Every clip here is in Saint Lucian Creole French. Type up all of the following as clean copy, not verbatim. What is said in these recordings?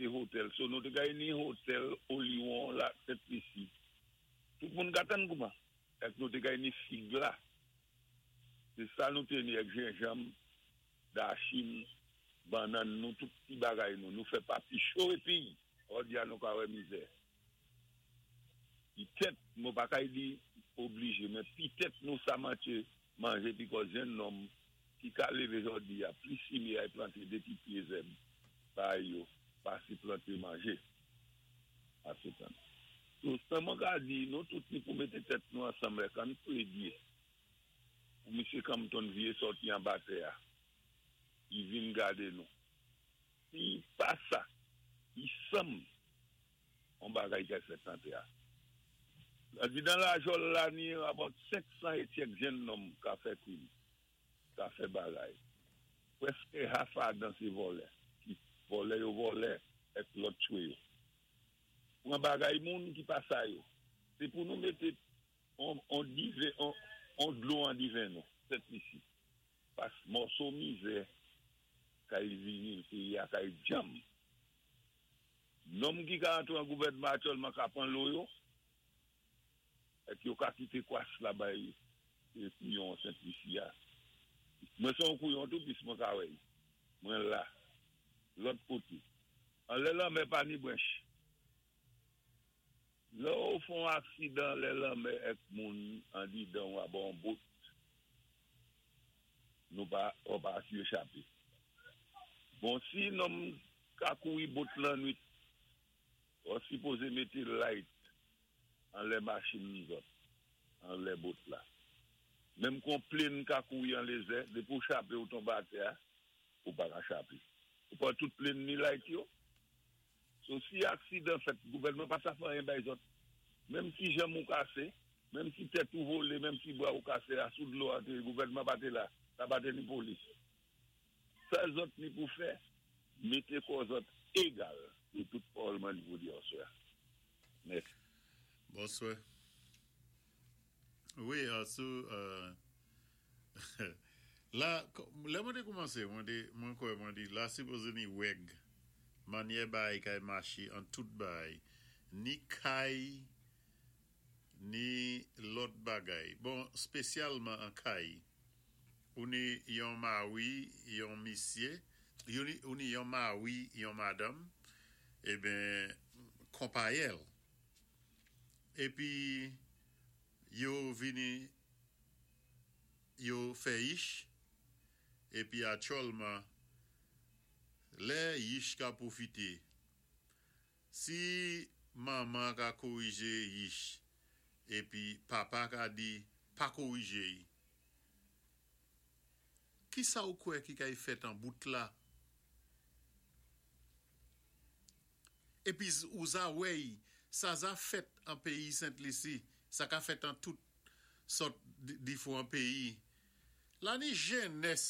mété hotèl. So nou té kay ni hotèl Oliwon la Sent Lisi. Tout moun ka tann kouman. Èk nou té kay ni fig la. Sé sa nou té ni èk jenjanm, dachin, bannann nou, tout ti bagay nou. Nou fè papi cho épi jòdi a nou ka wè mizè. Pitèt, mwen pa kay di oblije, men pitèt nou sa manche manje pikòz jenn nonm ki ka leve jòdi a plis sime ay plante de ti pye zèb bay yo pase plante manje. Ase tann. So sa mwen ka di nou tout ni pou mete tèt nou ansanm lè kan pledye pou misye Compton vye sòti anba tè a li vin gade nou. Si pa sa, li sanm on bagay kay fèt nan tè a. Lè di dan lajòl la ni about 500 etyèk jenn nonm ka fè krim, ka fè bagay. Prèske half adan se vòlè ki vòlè yo vòlè èk lòt chwe yo. Pran bagay moun ki pa sa yo. Se pou nou mete on on diven on on dlo an diven nou, Sent Lisi. Pas mòso mizè kay vini peyi a kay djanm. Nonm ki ka antre an gouvènman aktyèlman ka pran lo yo, èk yo ka kite kwas la bay kouyon Sent Lisi a. Mwen se yon kouyon tou pis mwen ka wè y. Mwen la. Lòt kote. Anlè lanmè pa ni branch. Lè ou fè yon aksidan anlè lanmè èk moun andidan ou abò yon bot, nou pa ou pa asire chape. Bon si nonm ka kouri bot lannwit, ou sipoze mete light anlè machin zòt, anlè bot la. Menm kon plane ka kouri anlezè, depi ou chape ou tonbe atè a, ou pa ka chape. Ou pa wè tout plane ni light yo? So si aksidan fèt gouvènman pa sa fè anyen bay zòt. Menm si janm ou kase, menm si tèt ou vole, menm si bra ou kase a sou dlo a te gouvènman pa te la, sa pa te ni polis. Sa zòt ni pou fè, mete kò zòt egal. Se tout pawòl mwen ni pou di aswè a. Mèsi. Bonswè. Wi sou la lè mwen te koumanse mwen te mwen kwè mwen di la sipoze ni règ manyè bagay kay mache an tout bagay ni kay ni lòt bagay bon spesyalman an kay ou ni yon mari yon misye ou ni yon mari yon madanm eben konpayèl. Epi yo vini yo fè yich, epi atyòlman lè yich ka pwofite, si manman ka korije yich epi papa ka di pa korije y, kisa ou kwè ki kay fèt an bout la? Epi ou za wèy sa za fèt an peyi Sent Lisi, sa ka fèt an tout sòt difwan peyi. La ni jennès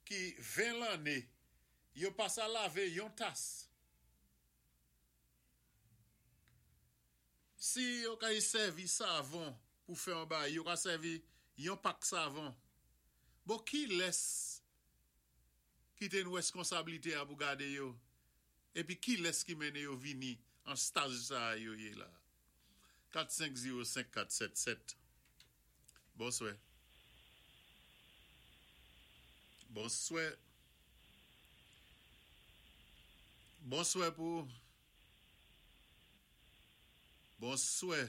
ki 20 lanne, yo pa sa lave yon tas. Si yo kay sèvi savon pou fè yon bagay, yo ka sèvi yon pak savon. Bon kilès ki te n reskonsablite a pou gade yo? Epi kilès ki mennen yo vini an staj sa a yo ye la? 4 5 0 5 4 7 7 Bonswè Bonswè Bonswè pou ou Bonswè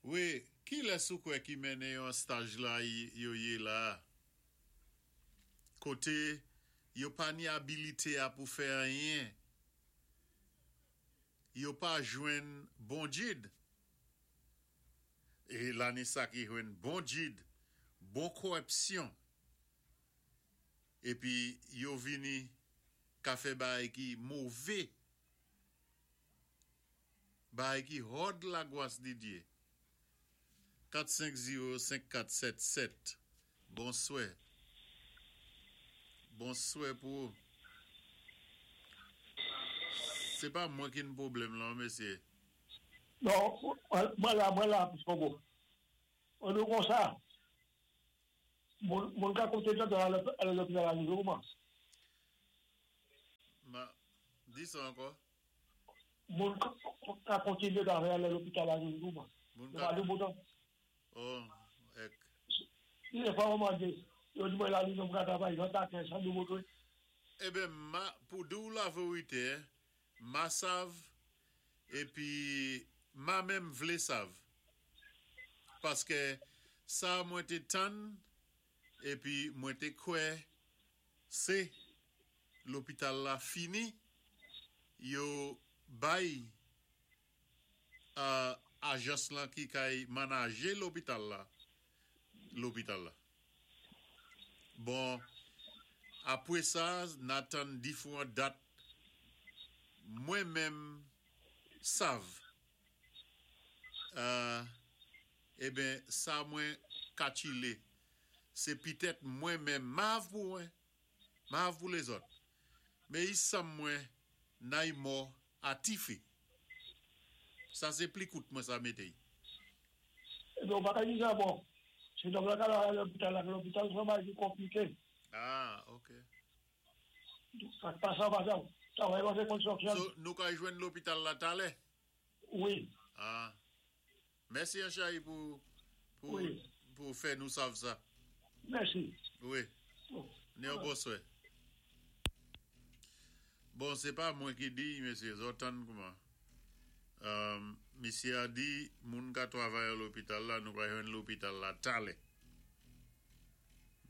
Wi, kilès ou kwè ki mennen yo an staj la yo ye la a? Kote yo pa ni abilite a pou fè anyen. Yo pa jwenn bon jid. E la ni sa ki jwenn bon jid, bon kòrepsyon. Epi yo vini ka fè bagay ki move. Bagay ki hòd lagwas Didye. 4 5 0 5 4 7 7 Bonswè Bonswè pou ou Se pa mwen ki n pwoblèm lan mesye. Non, mwen la, mwen la, Pis Kongo. An nou konsa, moun ka koute tande ale lopital a rive kouman? Ma, di sa ankò. Moun ka kontinyé travay alé lopital la toujou man. Moun Yo ka pa di bouton. Oh, èk. Dé fwa mwen mandé, yo di mwen la li nou ka travay 20 a 15 san nou bouton. Eben, ma, pou di ou laverité, ma sav, épi ma menm vlé sav. Paské sa mwen té tann, épi mwen té kwè sé lopital la fini, yo bay ajans lan ki kay manajé lopital la, lopital la. Bon, apwé sa, n tann diféwan dat, mwen menm sav. Eben, sa mwen katchilé, sé pitèt mwen menm, mav pou mwen, mav pou lézòt. Mé i sanm mwen nay mò a tifi. Sa sé pli kout mwen sa mété. Ebyen, pa ka di sa bon. Sé donk la ka la lopital la, lopital sé bagay ki konpliké. Ah, OK. Sa pa sa pa sa. Travay pa fè konstriksyon. So, nou ka jwenn lopital la talè? Wi. Ah. Mèsi Anchayi pou Wi. pou fè nou sav sa. Mèsi. Wi. Ni yon bonswè. Bon, sé pa mwen ki di, mesyé, zòt tann kouman. Misyé a di, moun ka travay a lopital la, nou ka jwenn lopital la talè.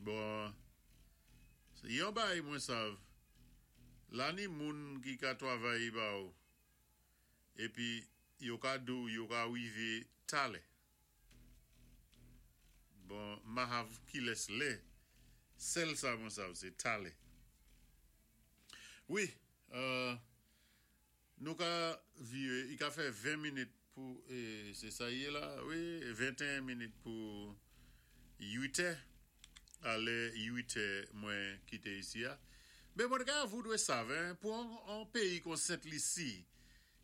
Bon, yon bay mwen sav, la ni moun ki ka travay ba ou, épi yo ka di ou, yo ka wivé talè. Bon, ma hav ki lès lè, sèl sa mwen sav, sé talè. Wi, nou ka viré, i ka fè 20 minit pou, sé sa yé la, wi, 21 minit pou 8 è, alè 8 è mwen kité isi a. Mé mwen ka voudwé sav, hein, pou an péyi kon Sent Lisi,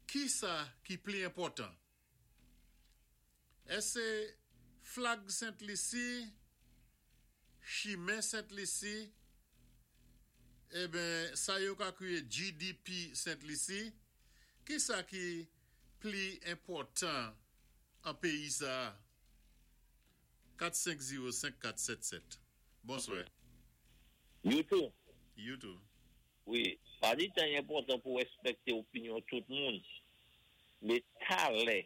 ki sa ki pli enpòtan? Èské flag Sent Lisi, chimen Sent Lisi, eben, sa yo ka kwiyé GDP Sent Lisi, ki sa ki pli enpòtan an péyi sa? 4505477. Bonswè. You tou. You tou. Wi, pa di tan enpòtan pou wèspèkté opinyon tout moun. Mé talè,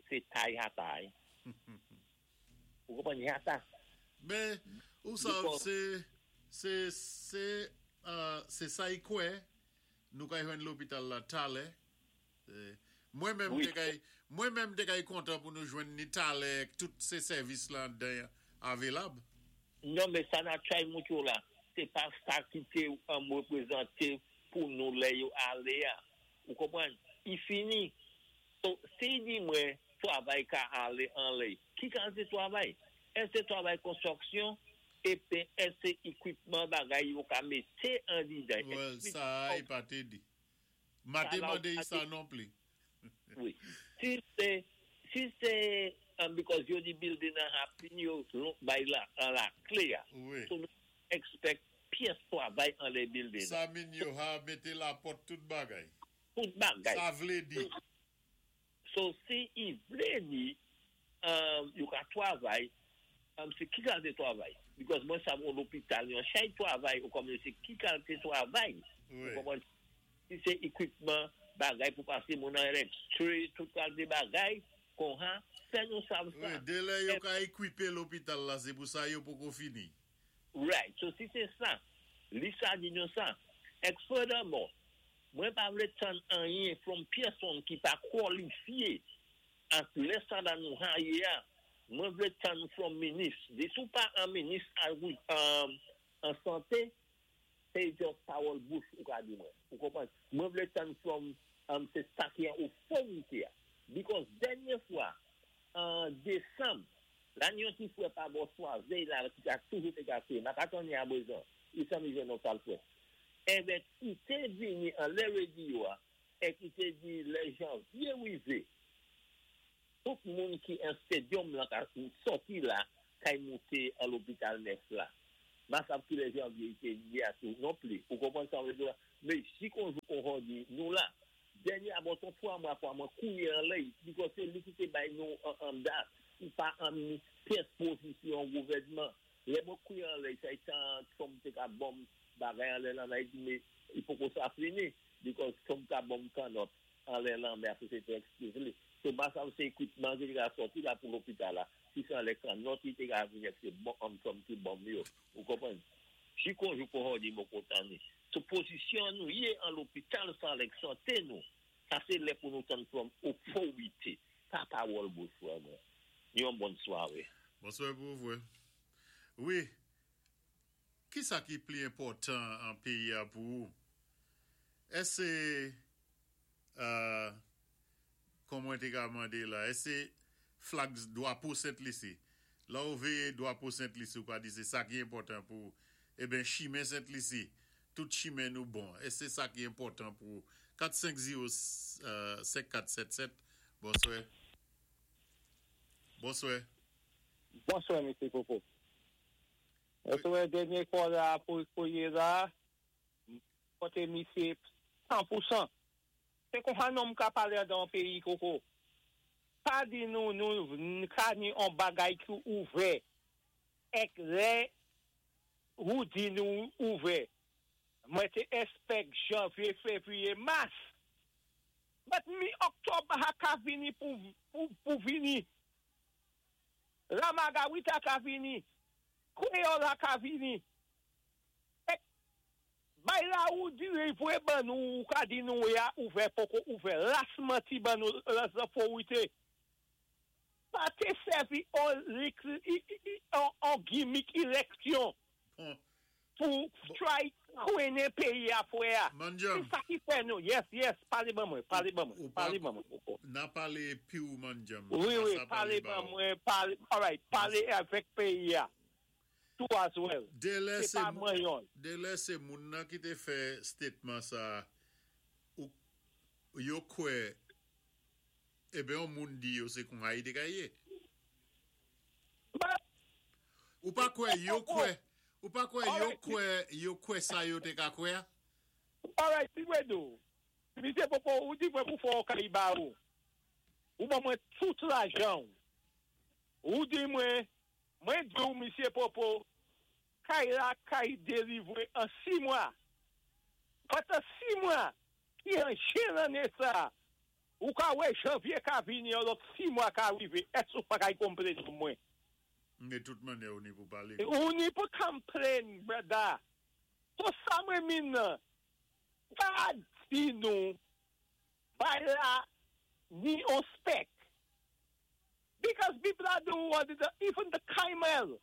sé tay a tay. Ou konpwann yata? Mé, ou sav, sé sa i kwè, nou ka jwenn lopital la talè. Mwen menm té kay, mwen menm té kay kontan pou nou jwenn ni talè, tout sé sèvis la den avelab. Non, mé sa na chay moutou la, sé pa sa ki té an wépwézanté pou nou lè yo alé a. Ou konpwann? I fini. So, si di mwen travay ka alé an lè, ki kalité travay? Èské travay konstriksyon épi èské ékwipman bagay yo ka mété an didan? Well, sa i pa té di. Ma té mandé sa non pli. Wi. Si sé, because yo di building an ha fini yo bay la, an la klé ya. Wi. So, nou expect pyès travay an lè building. Sa min yo ha mété la pòt tout bagay. Tout bagay. Sa vlé di. So, si i vlé di, yo ka travay, sé ki kalité travay? Because mwen sa moun lopital, yon chay travay, ou kòm sé ki kalité travay? Wi. Ou konpwann? Si sé ékwipman bagay pou pasé moun an x-ray, tout kalité bagay, kon ha, fè nou sav sa. Wi, dé lè yo ka ékwipé lopital la, sé pou sa yo poko fini. Right. So, si sé sa, li sa di nou sa. Ek furthermore, mwen pa vlé tann anyen from pèsonn ki pa kwalifyé ak lè sa dan nou haye a, mwen vlé tann from minis. Di sou pa an minis an santé, sé just pawòl bouch ou ka di mwen. Ou konpwann? Mwen vlé tann from sé sa ki an otorité a. Because dènyé fwa, an désanm, la yon ti fwè pa bò Swazey la, ki ka toujou te gase, ma ka tann ya bezon, i san mi jwenn nou tal fwè. Eben, i té vini an lè radio a, e ki té di lè janvye wivé, tout moun ki an stadium la, ka soti la, kay monté an lopital nèf la. Ma sav ki lè janvye i té di a tou, non pli. Ou konpwann sa mwen di la? Mé si kon jou kon jòdi, nou la, dènyé abòton 3 mwa kwa mwen kouwé anlè, because sé li ki té bay nou an dat, ou pa an pyès pozisyon gouvèdman. Lè mwen kouwé anlè, sa tan Trump té ka bonm bagay anlè lan Ayiti, mé i poko sa fini, because Trump ka bonm kannòt anlè lan, mé apwé sé té excuse li. So ba sa sé equipment ki té ka sòti la pou lopital la, si sé anlè kannòt, li té ka vini ak sé bon, Trump ki bonm yo. Ou konpwann? Si kon jou kon jòdi mwen kontan ni. So pozisyon nou yé an lopital san avèk santé nou, sa sé lè pou nou tann from otorité, pa pawòl bonswa mwen. Yon bòn swaré. Bonswa pou vwe. Wi, ki sa ki pli enpòtan an péyi a pou ou? Èské, kon mwen té ka mandé la, èské flag dwapo Sent Lisi? La ou véyé dwapo Sent Lisi, ou ka di sé sa ki enpòtan pou ou. Eben, chimen Sent Lisi, tout chimen nou bon. Èské sa ki enpòtan pou ou? 450 5477, bonswa. Bonswa. Bonswa, M. Popo. Èské dènyé call la pou kouwé la, koté misye 100%. Sé kon nonm ka palé dan péyi koko. Pa di nou nou ka ni on bagay ki ouvè. Èk lè ou di nou ouvè. Mwen té expect janvye, févriye, mas. But mi oktòb ha ka vini pou vini. La Margarita ka vini. Kwéyòl la ka vini. Èk bay la ou di vwé ban nou ou ka di nou ya ouvè poko ouvè. Las manti ban nou las otorité. Pa té sèvi on, on gimmick éleksyon Bon, pou try kwennen péyi a fwè a. Manjam. Sé sa ki fè nou. Yes, palé ban mwen, palé ban mwen, Ou pa- palé ban mwen. Na palé pi ou manjam. Wi, Sa palé ba ban ou. mwen, palé, alright, palé avèk péyi a. Tou as well. Délè Sé sé pa mwen yon. Délè sé moun nan ki té fè statement sa ou yo kwè eben yon moun di yo sé kon Haiti ka yé. But, Ou pa kwè yo kwè, ou pa kwè yo Alright. kwè yo kwè sa yo té ka kwè? Alright, si mwen do. Misye Popo, ou di mwen pou fò kay ba ou. Ou ban mwen tout lajan. Ou di mwen, mwen di ou, Misye Popo, kay la kay délivwé an 6 mwa. But an 6 mwa, ki an jen lanné sa, ou ka wè janvye ka vini, an lòt 6 mwa ka rivé, èské ou pa kay konplenn sou mwen? Mé tout mannyè ou ni pou palé. Ou ni pou complain, brother. So sa mwen min nan, pa di nou, bay la ni on spec. Because Bib la di ou, even the camel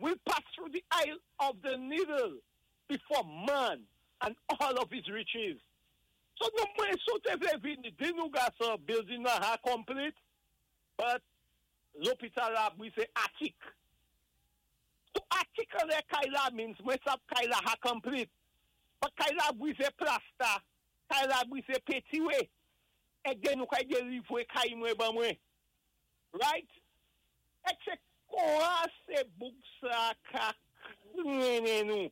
will pass through the eye of the needle before man and all of his riches. So nou mwen soté vlé vini, di nou gason, building nan ha complete, but lopital la bwizé attic. So attic an lè kay la means mwen sab kay la ha complete. But kay la bwize plasta, kay la bwize petiwe. Èk den nou kay délivwé kay mwen ban mwen. Right? Èk sé kwa sé bouk sa ka krennen nou?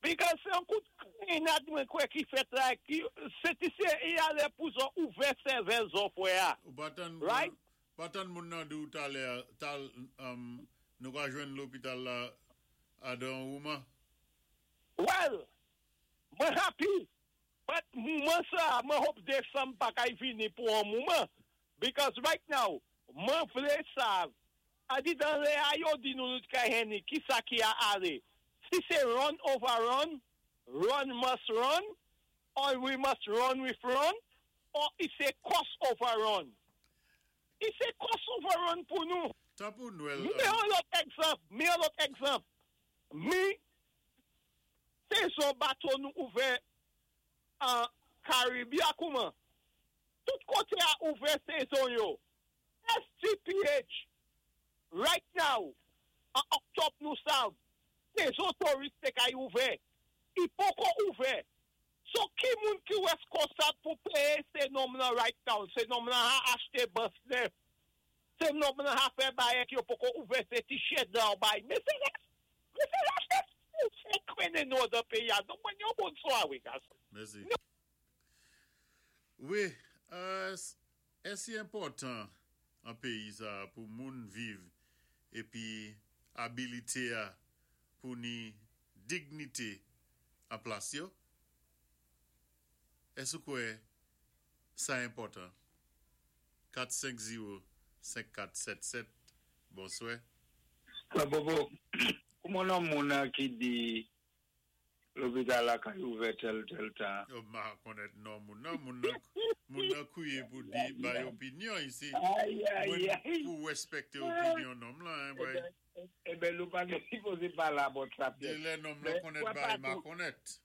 Because sé yon kout krennad mwen kwè ki fèt la, ki, sé ti sé y alé pou zon ouvè sèvèl zon fwè a. Ou pa tann Right? pa tann moun nan di ou talè, tal nou ka jwenn lopital la adan ouman. Well, mwen happy, but mouman sa, mwen hope desanm pa kay vini pou an mouman. Because right now, mwen vle sav, a di dan lè a yo di nou nou kay heni, ki sa ki a ale. Si se run over run, run must run, or we must run with run, or i se cost over run. I se cost over run pou nou. Ta pou Nwèl. Mi yon lòt egzanp, mi yon lòt egzanp. Mi, sezon bato nou ouvè an Karibia kouman. Tout koté a ouvè sezon yo. SGPH, right now, an oktòb nou sav, sezon touris té kay ouvè. I poko ouvè. So ki moun ki wèskonsab pou péyé sé nonm nan right now? Sé nonm nan ha achté bus nèf. Sé nonm nan ha fè bayèk yo poko ouvè sé ti shed nan bay. Mé sé la, mé sé la, sé trennen nou dan péyi-a. Donk mwen ni yon bon swawé, gason. Mèsi. Wi, èsi enpòtan an péyi sa pou moun viv épi abilité-a pou ni dignité an plas yo? Èske ou kwè sa enpòtan? 4 5 0 5 4 7 7 Bonswè. Frè Bobo, kouman non moun nan ki di lopital la kay ouvè tèl tèl tan? Oh m pa konnèt non moun nan, moun nan moun nan kwiye pou di bay opinyon isi. Mwen pou respekte opinyon nonm lan hein boy. Eben nou pa te sipoze pale about sa pyès. De lè nonm lan konnèt bagay ma konnèt.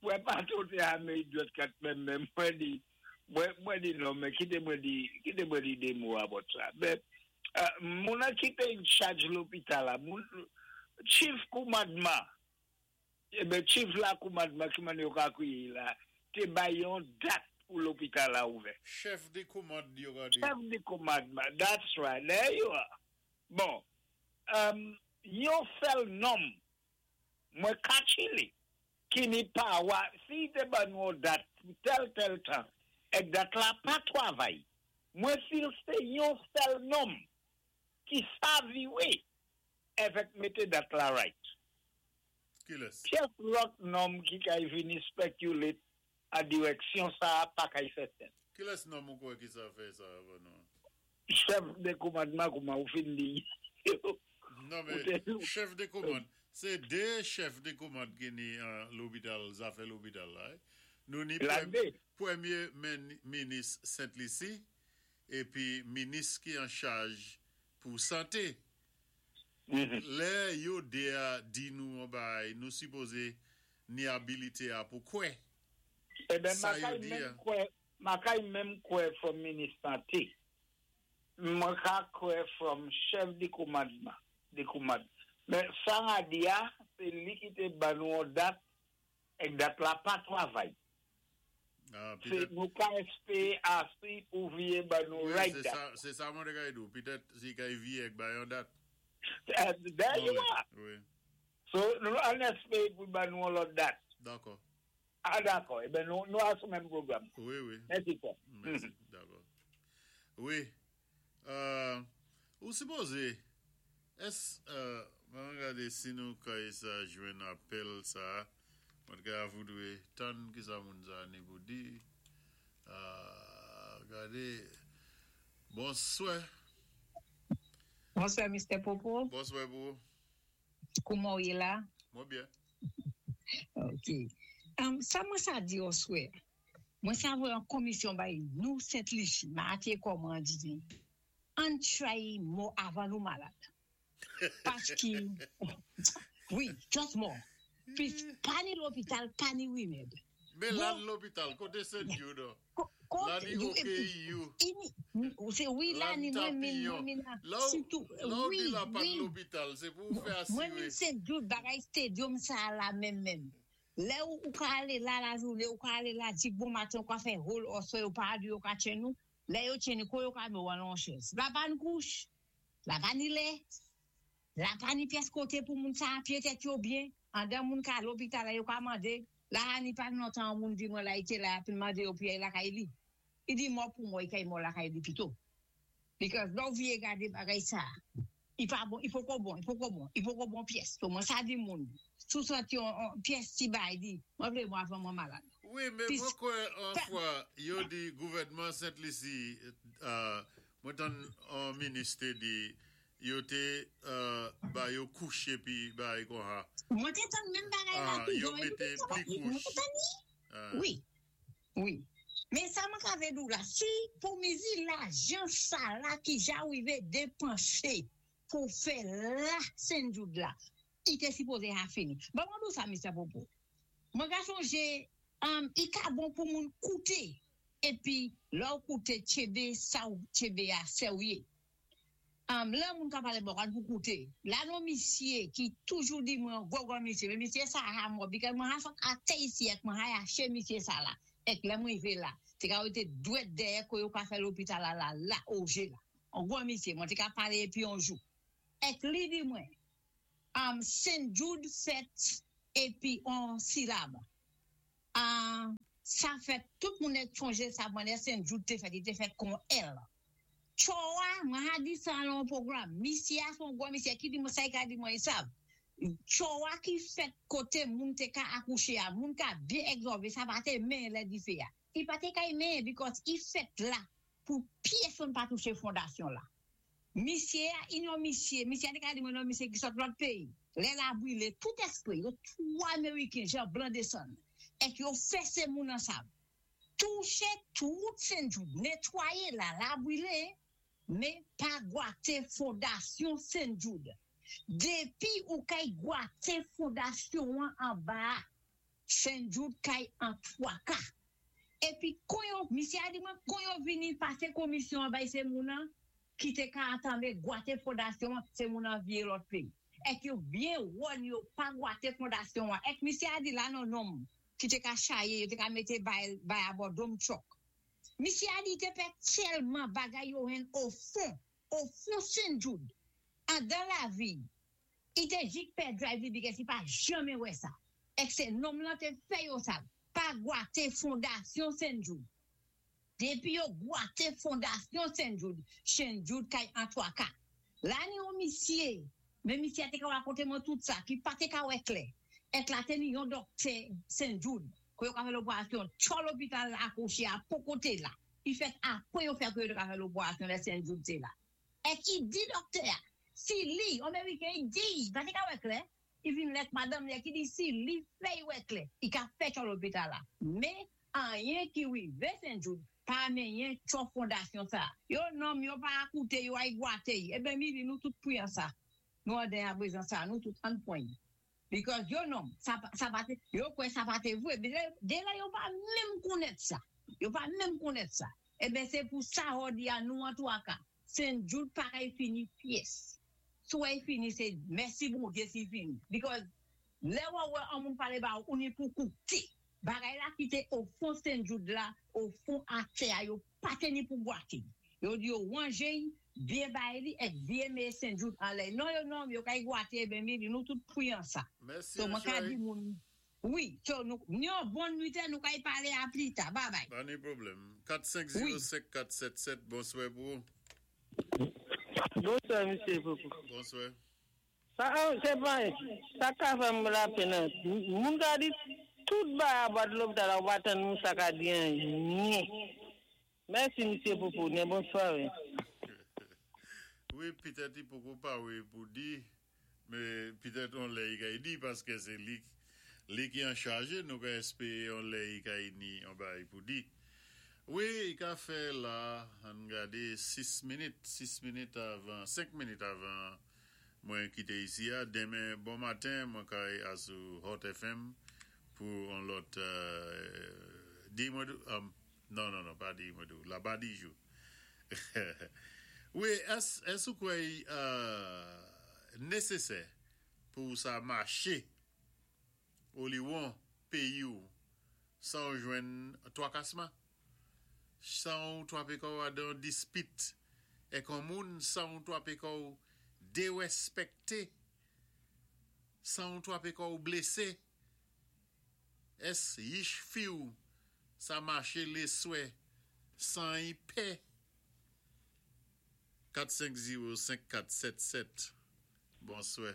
Mwen pa tote ame idiot kat menm men mwen di mwen di non men kite mwen di kite mwen di 2 mo about sa men moun nan ki te in charge lopital la moun chief koumandman eben chief la koumandman ki man yo ka kriye la te bay yon dat pou lopital la ouvè. Chef de komand yo ka di. Chef de komandman that's right there you are bon yon sèl nonm Mwen ka chili ki ni pawa si y te ban nou on dat pou tèl tèl tan èk dat la pa twavay mwen fil sé yon sèl nonm ki saviwe èvèk mete dat la right. Kilès? Pyès lòt nonm ki kay vini speculate an dirèksyon sa a pa kay fè sense. Kilès nonm ou kwè ki sa fè sa avan nou an? Chèf de komandman kouman ou fin di yo. Non men chèf de komand se 2 chèf de komand ki ni an lopital zafè lopital la wi. Nou ni premye minis Sent Lisi epi minis ki an chaj pou sante. Lè yo 2 a di nou yon bagay nou sipoze ni abilite a pou kwè Eben sa yo makay di a. menm kwè makay menm kwè from minis sante mwen ka kwè from chèf de komandman de komand men sa na di a se li ki te ban nou yon dat èk dat la pa travay Ah, se petèt nou ka espere asi pou vye ban nou wi right se dat sa se sa mwen te kay di w petèt si kay vye èk bay yon dat there bon you lè are wi. So nou ann espere pou l ban nou yon lòt dat. Dakò. Ah dakò, eben nou nou a sou menm pwogram. Wi wi. Mèsi frè. Mèsi, dakò. Wi. Ou sipoze es mwen gade si nou kay sa jwenn apèl sa mwen t ka voudre tann kisa moun sa ni pou di gade bonswè. Bonswè Mister Popo. Bonswè pou ou. Kouman ou ye la? Mwen byen. Ok. Sa mwen sa di oswè, mwen sa voye yon komisyon bay nou Sent Lisi, ma ate kòman di, ann try mò avan nou malad. Paski, wi, just mò. Pis pa ni lopital, pa ni remèd. Men la ni lopital, koté St. Jude an? La ni OKEU. Se wi la ni mwen min, mwen min la, sitou, La ou wi, di la pa wi. lopital, se pou ou fè Mwen min asire. St. Jude bagay stadium sa la menm menm. Lè ou ou ka ale la lajounen, ou ka ale la di bon maten, ou ka fè whole oswè yo pa di yo ka tchen nou. Lè yo tchen nou, ko yo ka mè ou an lon chèz. La pa ni kouch, la pa ni lè, la pa ni pyès koté pou moun sa apye tèt yo byen. Andan moun ka lopital la yo ka mandé, la a ni pa lontan an moun di mwen la i té la ap mandé yo pou y ay lakay li. I di mò pou mò, i kay mò lakay li pito. Because lè ou vye gade bagay sa, i pa bon, i poko bon, i poko bon, i poko bon pyès. So mwen sa di moun, si w santi yon pyès ti bagay di, mwen vle mò avan mwen malad. Wi, men Pis, mwen kwè an fè, fwa yo di gouvènman Sent Lisi, mwen tann on minis te di yo te ba yo kouch epi bagay konha. Mwen te tann menm bagay la Ah, tou, yo Jean, epi mete tout sa pli mwen kouch. te tann li. Ah. Wi, wi. Men sa mwen ka vle di w la, si pou mizi lajan sa la ki ja rive depanse pou fè la St. Jude la, i te sipoze ha fini. Bon mwen di w sa Mister Popo, mwen ka sonje i ka bon pou moun koute epi lè w koute tchebe sa w tchebe a sèwye. Lè moun ka pale bò kan pou koute. La non misye ki toujou di mwen yon gwo gwo misye men misye sa ha mò because mwen ha sot atè isi ek mwen ha yache misye sa la ek lè mwen rive la te ka wete dwèt dèyè ko yo ka fè lopital la la la oje la yon gwo misye mwen te ka pale epi yon jou ek li di mwen St Jude fèt. Épi on silab. A sa fèt tout moun èk chonjé sa mwen Sen Jude té fèt, li té fèt kon L. Tcho a, mwen ha di sa lan on pwogram. Misyé a son gwo misyé ki di mwen sa i ka di mwen i sav. Tcho a ki fèt koté moun té ka akouché a, moun ka byen ègzòvé sa pa té men lè difé a. I pa té kay men because i fèt la pou pyèsonn pa touché fondasyon la. Misyé a yn yon misyé, misyé a té ka di mwen yon misyé ki sot lòt péyi. Lè la brilé tout èspwé yo 3 meriken jan blan desann èk yo fèsé moun ansam. Touche tout Sen Jude, netwaye la, la brile, men pa gwate fondasyon Sen Jude. Depi ou kay gwate fondasyon an anba a, Sen Jude kay an 3 ka. Epi kon yo, misye a di mwen, kon yo vini pase komisyon an bay se moun an ki te ka antame gwate fondasyon an, se moun an vye lòt peyi. Ek yo byen wòn yo pa gwate fondasyon an. Ek misye a di la non nonm ki te ka chaye, yo te ka mété bay bay abò dom truck. Misyé a di li te pè tèlman bagay yo henn o fon, o fon Sen Jude, andan lavi, i te jik pè drive li bikès li pa janmen wè sa. Èk sé nonm lan te fè yo sa, pa gwate fondasyon Sen Jude. Depi yo gwate fondasyon Sen Jude, Sen Jude kay antwaka. La ni yon misye, men misye a te ka rakonte mwen tout sa, ki pa te ka wè klè. Èk la te ni yon dòktè Sen Jude, kou yo ka fè loperasyon, tchò lopital la akouche a poko te la. Li fèt apre yo fè kou yo te ka fè loperasyon lè Sen Jude te la. Èk i di dòktè a, si li, yon meriken, i di, li pa te ka wè klè, I vin lèt madanm li a ki di si li fè y wè klè, i ka fè tchò lopital la. Men, anyen ki rive Sen Jude pa menyen tchò fondasyon sa. Yo nonm yo pa akoute yo ay gwate y. Eben mili nou tout pwiyan sa. Nou anden aprezan sa nou tout ann pwan y. Because yo nonm sa sa pa te yo kwè sa pa te vwe. De lè yo pa menm konnèt sa. Yo pa menm konnèt sa. Eben se pou sa hòdi a nou antwaka. Sen Jude pa kay fini pyès. Si w wè y fini se mèsi Bondye si y fini because lè wè wè on moun pale ba ou ni pou koute bagay la ki te o fon Sen Jude la o fon atè a yo pa te ni pou gwate yo di yo wanje y byen bay li èk byen meye Sen Jude anlè non yo non yo kay gwate eben mili nou tout pwiyan sa Mèsi so mwen ka Anchèy. di moun wi so nou ni yon bon nwit nou kay pale a plita babay Pa ni pwoblèm. 4 5 wi. 0 5 4 7 7 bonswè pou ou. Bonswa misye Popo. Bonswè. Sa se pa sa ka fè m lapenn an moun ka di tout bagay about lopital la ou pa tann moun sa ka di anyen mèsi misye Popo nen bon sware. Wi petèt li poko pare pou di men petèt on lè li kay di paske se li li ki an chaje nou ka espere on lè li kay ni on bagay pou di. Wi li ka fè la ann gade 6 minit 6 minit avan 5 minit avan mwen kite isi a demen bon maten mwen kay a sou Hot FM pou on lòt di mwen non non non pa di mwen di la ba di jou Wi ès ès ou kwè i nesesè pou sa mache oliwon peyi w san w jwenn twakasman, san w twape kò w adan dispit èk on moun, san w twape kò w derèspèkte, san w twape kò w blese? Ès yich fi w sa mache leswè san y pè? 4 5 0 5 4 7 7 Bonswè.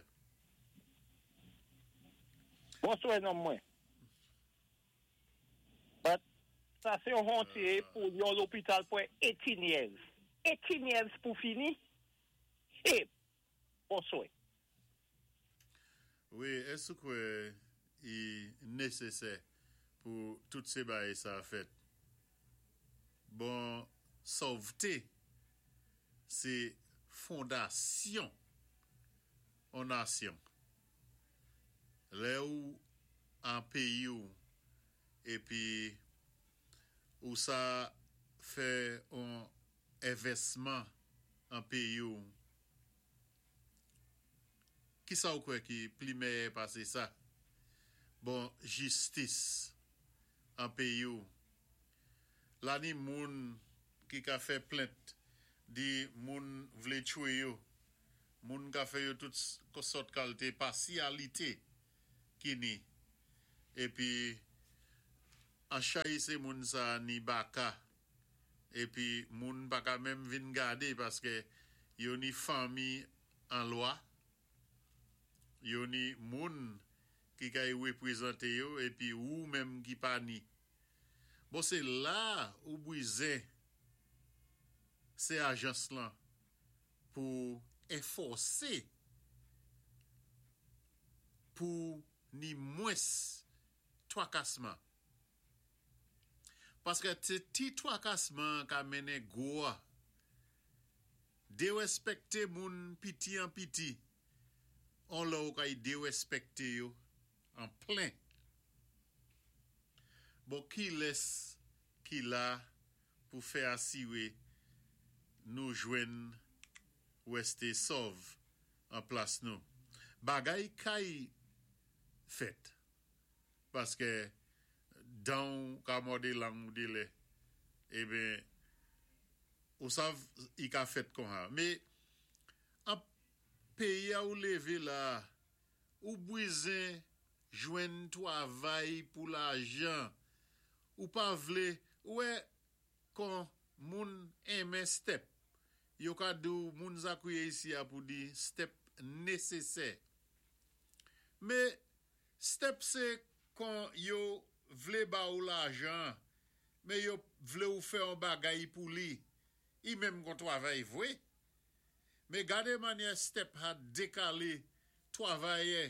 Bonswè nonm mwen. But sa se yon honte pou yon lopital pran 18 years. 18 years pou fini? Shit! Bonswè. Wi, èske ou kwè i nesesè pou tout se bagay sa fèt? Bon, sovte se fondasyon on nasyon. Lè ou an peyi ou epi ou sa fè on envèsman an peyi ou, Kisa ou kwè ki pli mèyè pase sa? Bon jistis an peyi w la ni moun ki ka fè plent di moun vle tchwe yo, moun ka fè yo tout sòt kalte pasyalite ki ni. Épi an chay sé moun sa ni baka épi moun pa ka menm vin gadé paské yo ni fanmi an lwa, yo ni moun ki kay wépwézanté yo épi ou menm ki pa ni. Bon sé la ou bwizen sé ajans lan pou enfòsé pou ni mwens twakasman. Paské sé ti twakasman ka mennen gwo a. Déwéspèkté moun piti an piti, on lè ou kay déwéspèkté yo an plen. Bon kilès ki la pou fè asiwé nou jwenn wèsté sòv an plas nou. Bagay kay fèt paské dan ou ka mòdé lang ou délè eben ou sav i ka fèt konsa. Mé an péyi a ou lévé la ou bwizen jwenn twavay pou lajan ou pa vlé ou wè kon moun enmen step yo ka di-w moun sa kwiyé isi a pou di step nésésè. Mé step sé kon yo vlé ba ou lajan mé yo vlé ou fè on bagay pou li. I menm kon twavay vwé. Mé gadé mannyè step a dékalé twavayè,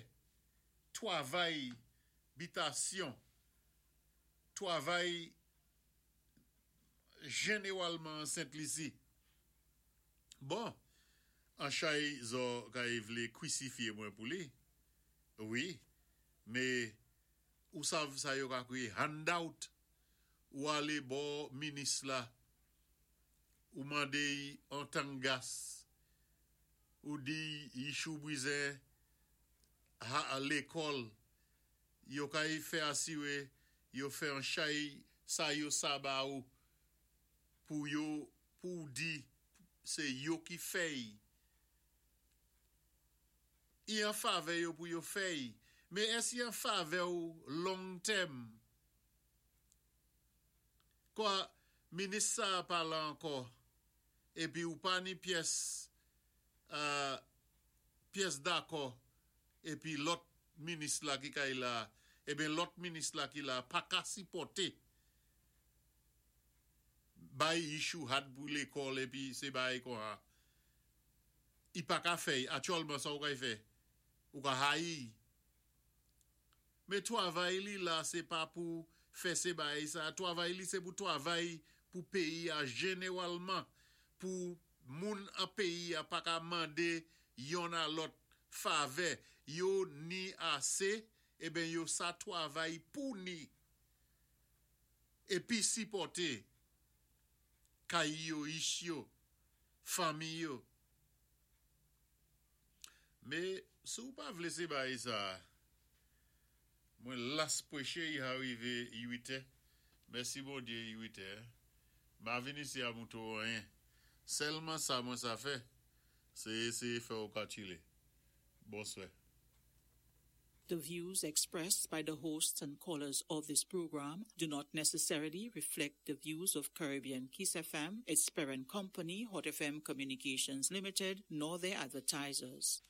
twavay bitasyon, twavay jénéwalman an Sent Lisi. Bon, an chay zò kay vlé kwisifyé mwen pou li. Wi, mé ou sav sa yo ka kwiyé handout. Ou alé bò minis la, ou mandé-y on tank gas, ou di yichou bwizen ha lékòl, yo kay fè asiwé yo fè an chay sa yo sa ba ou pou yo pou di sé yo ki fè'y. I an favè yo pou yo fè'y, mé ès i an favè ou long term? Kwa, minis sa pa la ankò, épi ou pa ni pyès pyès dakò épi lòt minis la ki kay la, eben lòt minis la ki la pa ka sipòté bay yichou had pou lékòl épi sé bay konsa. I pa ka fè'y, aktyèlman sa ou kay fè? Ou ka hayi. Mé twavay li la sé pa pou fè sé bay sa, twavay li sé pou twavay pou péyi a jénéwalman, pou moun an péyi a pa ka mandé yonn a lòt favè, yo ni asé, eben yo sa twavay pou ni. Épi sipòté kay yo, yich yo, fanmi yo. Mé si ou pa vlé sé bay sa, mwen las pwéché i arivé 8 è. Mèsi Bondyé i 8 è. Ma vin isi a mouto anyen. Sèlman sa mwen sa fè, sé éséyé fè ou ka chilé. Bonswè. The views expressed by the hosts and callers of this program do not necessarily reflect the views of Caribbean Kiss FM, its parent company, Hot FM Communications Limited, nor their advertisers.